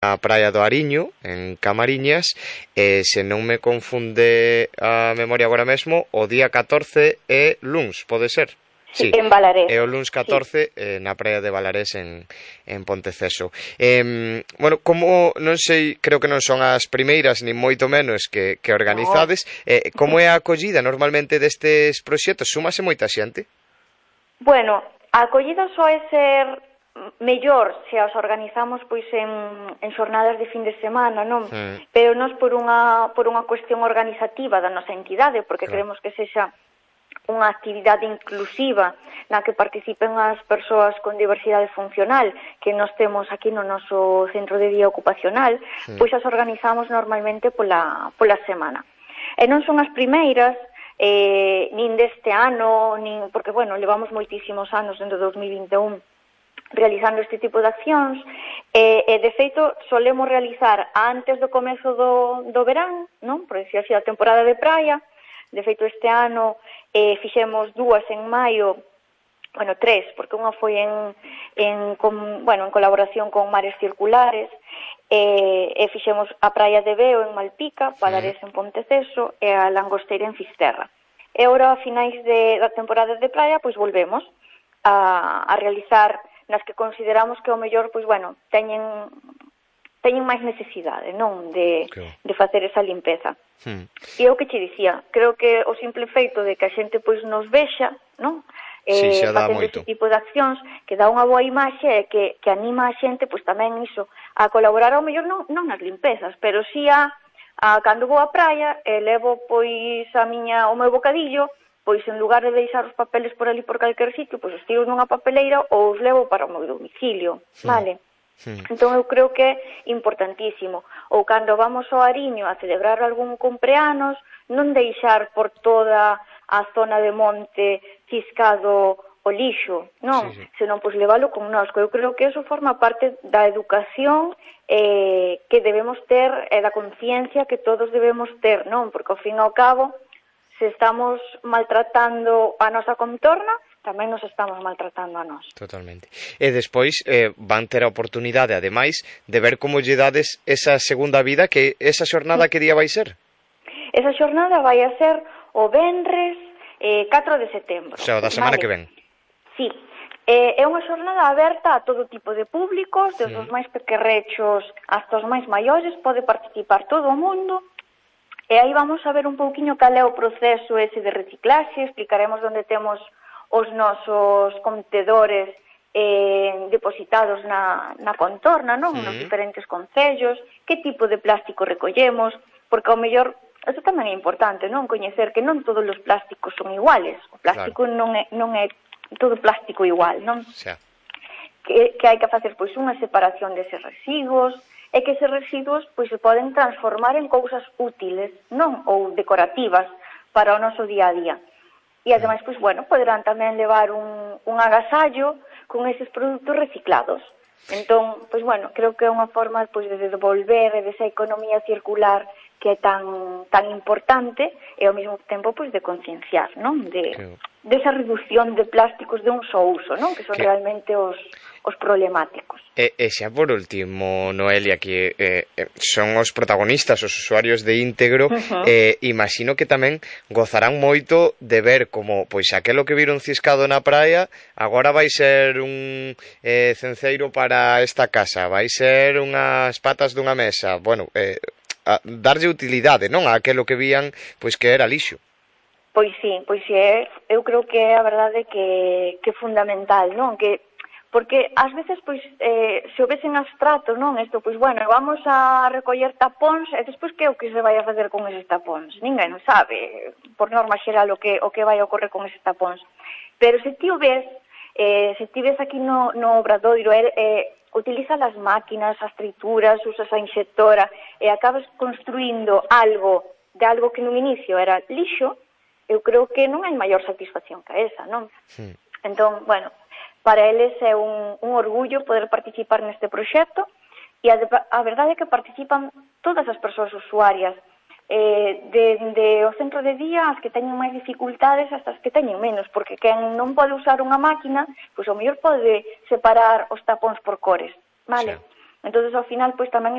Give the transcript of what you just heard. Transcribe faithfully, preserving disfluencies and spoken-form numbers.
a praia do Ariño, en Camariñas, e se non me confunde a memoria agora mesmo, o día catorce é luns, pode ser? Sí, en Balarés. É o luns catorce, sí. eh, na praia de Balarés en, en Ponteceso. Eh, bueno, como, non sei, creo que non son as primeiras, nin moito menos que, que organizades, no. eh, como é a acollida normalmente destes proxectos? Súmase moita xente? Bueno, a acollida soe ser mellor se as organizamos pois en, en xornadas de fin de semana, non? Mm. Pero nós por unha, por unha cuestión organizativa da nosa entidade, porque claro. Queremos que sexa unha actividade inclusiva na que participen as persoas con diversidade funcional que nós temos aquí no noso centro de día ocupacional, sí. Pois as organizamos normalmente pola, pola semana. E non son as primeiras, eh, nin deste ano, nin, porque, bueno, levamos moitísimos anos dentro do dos mil vinte e un realizando este tipo de accións, e, e de feito solemos realizar antes do comezo do, do verán, non? Por decir así, a temporada de praia. De feito, este ano eh, fixemos dúas en maio, bueno, tres, porque unha foi en, en, con, bueno, en colaboración con Mares Circulares, e, e fixemos a praia de Veo en Malpica, Balarés en Ponteceso e a Langosteira en Fisterra. E agora, a finais de, da temporada de praia, pois volvemos a, a realizar nas que consideramos que o mellor, pois, bueno, teñen... teñen máis necesidade, non, de, okay. de facer esa limpeza. Hmm. E o que che dicía, creo que o simple feito de que a xente pois nos vexa, non? Sí, eh, facendo ese tipo de accións, que dá unha boa imaxe e que, que anima a xente, pois tamén iso, a colaborar ao mellor non, non nas limpezas, pero si a, a cando vou á praia e levo pois a miña, o meu bocadillo, pois en lugar de deixar os papeles por ali por calquer sitio, pois os tiro nunha papeleira ou os levo para o meu domicilio, hmm. vale? Sí. Entón eu creo que é importantísimo. Ou cando vamos ao Ariño a celebrar algún cumpleanos, non deixar por toda a zona de monte ciscado o lixo, non? Sí, sí. Senón, pois, leválo con nós. Eu creo que eso forma parte da educación eh, que debemos ter e da conciencia que todos debemos ter, non? Porque, ao fin e ao cabo, se estamos maltratando a nosa contorna, tamén nos estamos maltratando a nós. Totalmente. E despois eh, van ter a oportunidade, ademais, de ver como lle dades esa segunda vida, que esa xornada que día vai ser? Esa xornada vai a ser o venres eh, catro de setembro. O sea, o da semana vale. Que ven. Sí. Eh, é unha xornada aberta a todo tipo de públicos, desde sí. Os máis pequerrechos hasta os máis maiores, pode participar todo o mundo. E aí vamos a ver un pouquiño cal é o proceso ese de reciclaxe, explicaremos onde temos os nosos contedores eh, depositados na, na contorna, non? Sí. Nos diferentes concellos, que tipo de plástico recollemos, porque ao mellor, eso tamén é importante, non? Coñecer que non todos os plásticos son iguales, o plástico claro. non, é, non é todo plástico igual, non? Sí. Que, que hai que facer, pois, unha separación deses residuos, e que eses residuos, pois, se poden transformar en cousas útiles, non? Ou decorativas para o noso día a día. E ademais, pois, bueno, poderán tamén levar un, un agasallo con eses produtos reciclados. Entón, pois, bueno, creo que é unha forma, pois, de devolver desa economía circular que é tan tan importante e ao mesmo tempo, pois, de concienciar, non? De, que... desa reducción de plásticos de un só uso, non? Que son que... realmente os, os problemáticos. E, e xa por último, Noelia, que eh, son os protagonistas, os usuarios de Íntegro, uh-huh. eh, imagino que tamén gozarán moito de ver como, pois, aquelo que viron ciscado na praia agora vai ser un eh, cenceiro para esta casa, vai ser unhas patas dunha mesa, bueno, eh, a darlle utilidade, non? A aquelo que vían, pois, que era lixo. Pois sí, pois sí, é, eu creo que é a verdade que, que é fundamental, non? Que porque ás veces, pois, eh, se o ves en abstrato, non? Isto, pois, bueno, vamos a recoller tapóns e despois que é o que se vai a facer con eses tapóns? Ninguén non sabe, por norma xeral, o que, o que vai a ocorrer con eses tapóns. Pero se ti o ves, eh, se ti ves aquí no, no obradoiro, eh, eh, utiliza as máquinas, as trituras, usas a inxectora e acabas construindo algo de algo que no inicio era lixo, eu creo que non hai maior satisfacción que esa, non? Sí. Entón, bueno, para eles é un, un orgullo poder participar neste proxecto e a, a verdade é que participan todas as persoas usuarias, eh, de o centro de día as que teñen máis dificultades hasta as que teñen menos, porque quen non pode usar unha máquina, pois ao mellor pode separar os tapóns por cores, vale? Sí. Entón, ao final, pois tamén